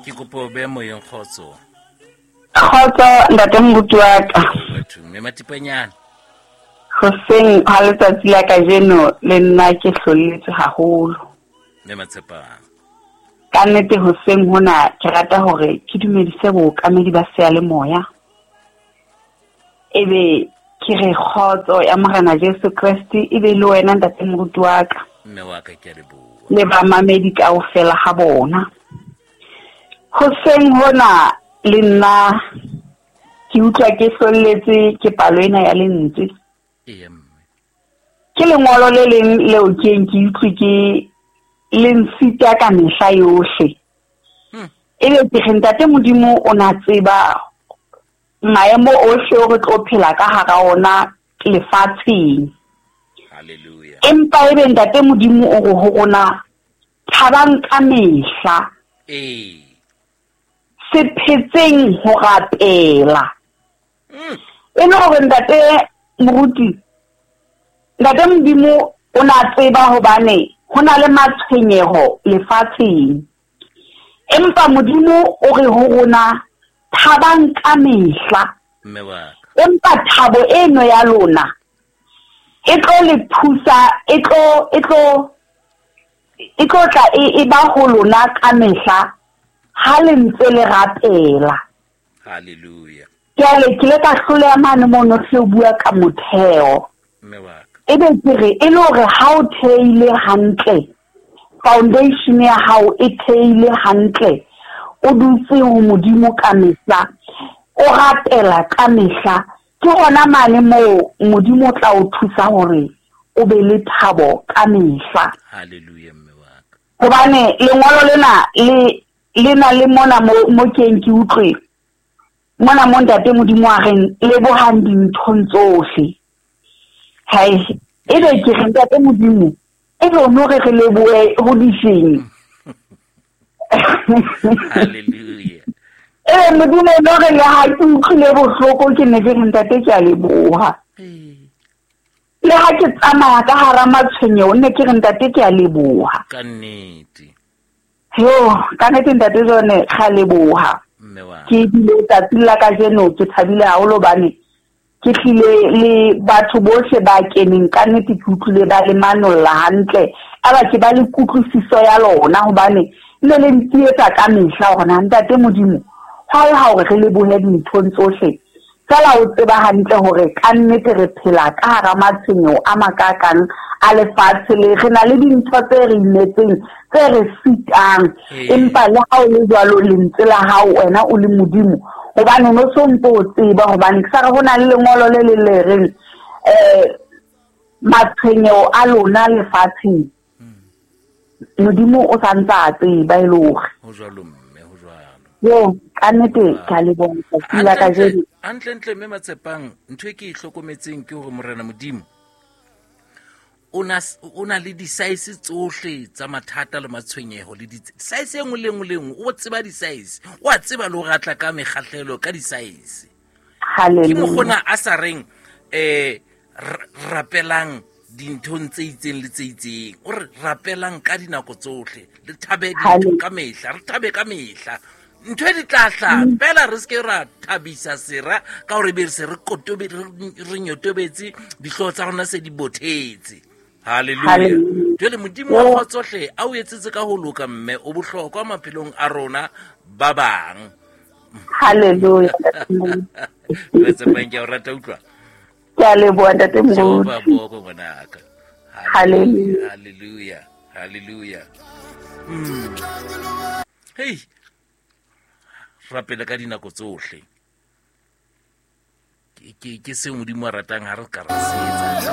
Ke kopo o behe moyeng kgotso. Kgotso ntate moruti wa ka. Batho mme Matipanyana. Hoseng ha letsatsi la kajeno le nna ke hlolletswe haholo. Mme Matshepang. Ka nnete hoseng hona ke rata hore ke dumedise bookamedi ba seyalemoya. Ebe ke re kgotso ya Morena Jesu Kreste e be le wena ntate moruti wa ka. Mme wa ka ke a leboha. Le bamamedi kaofela ha bona. Hoseng hona le nna ke utlwa ke hlolletse ke palo ena ya lentswe. Ee mme. Ke lengolo le leng leo ke eng ke utlwe ke le nsita ka mehla yohle. Ebe ke re ntate Modimo o na tseba maemo ohle o re tlo phela ka hara ona lefatsheng. Hallelujah. Empa ebe ntate Modimo o re ho rona thabang ka mehla. Ee. Se phetseng ho rapela. E le hore ntate moruti, ntate Modimo o na tseba hobane ho na le matshwenyeho lefatsheng. Empa Modimo o re ho rona thabang ka mehla. Mme wa ka. Empa thabo eno ya lona e tlo le thusa, e tlo, e tlo, e tlo tla e, e ba ho lona ka mehla ha le ntse le rapela. Hallelujah. Jwale ke ile ka hloleha mane mono hle o bua ka motheo. Mme wa ka. Ebe ke re e le hore ha o theile hantle, foundation ya hao e theile hantle, o dutse ho Modimo ka mehla, o rapela ka mehla, ke hona mane moo Modimo o tla o thusa hore o be le thabo ka mehla. Hallelujah mme wa ka. Hobane lengolo lena le le na le mona mo mo keng ke utlwe mona mo ntate Modimo a reng lebohang dinthong tsohle. Hai, ebe ke re ntate Modimo ebe o no re re lebohe ho difeng. Hallelujah. Ebe Modimo o no re le ha ke utlwile bohloko ke ne ke re ntate ke a leboha. Le ha ke tsamaya ka hara matshwenyeho ne ke re ntate ke a leboha. Ka nnete. Yo, ka nnete ntate Jone ga leboha. Mme wa. Ke bile tsatsing la kajeno ke thabile haholo hobane ke tlile le batho bohle ba keneng ka nnete ke utlwile ba le manolla hantle. Aba ke ba le kutlwisiso ya lona hobane ne le ntietsa ka mehla hore na ntate Modimo hwa e ha hore re lebohe dinthong tsohle. Fela o tseba hantle hore ka nnete re phela ka hara matshwenyeho a makakang a lefatshe le re na le dintho tse re imetseng tse re sitang. Empa le ha o le jwalo lentswe la hao wena o le Modimo hobane no so ntse o tseba hobane ke sa re ho na le lengolo le le le reng matshwenyeho a lona lefatsheng Modimo o sa ntse a tseba e le hore. Ho jwalo mme, ho jwalo. Yo, ka nnete ka leboha letsatsi la kajeno. Hantle-ntle mme Matshepang, ntho e ke e hlokometseng ke hore Morena Modimo o na le di-size tsohle tsa mathata le matshwenyeho le size e nngwe le nngwe le nngwe, o tseba di-size, o a tseba le ho ratla ka mekgahlelo ka di-size. Hallelujah. Ke mokgona a sa reng rapelang dinthong tse itseng le tse itseng, o re rapelang ka dinako tsohle, le thabe dintho ka mehla, re thabe ka mehla. Ntho e di tla hlaha fela re seke ra thabisa sera ka hore be re se re kotobe, re nyotobetse, dihlooho tsa rona se di bothetse. Hallelujah. Hallelujah. Jwale Modimo wa kgotso hle a o etsetse ka ho loka mme o bohlokwa maphelong a rona ba bang. Hallelujah. Re tsepang ke a o rata utlwa. Ke a leboha ntate Moruti. Jehova boko ngwanaka. Hallelujah. Hallelujah. Hallelujah. Hey. Rapele ka dinako tsohle. Ke seo Modimo a ratang ha re ka ra se etsa.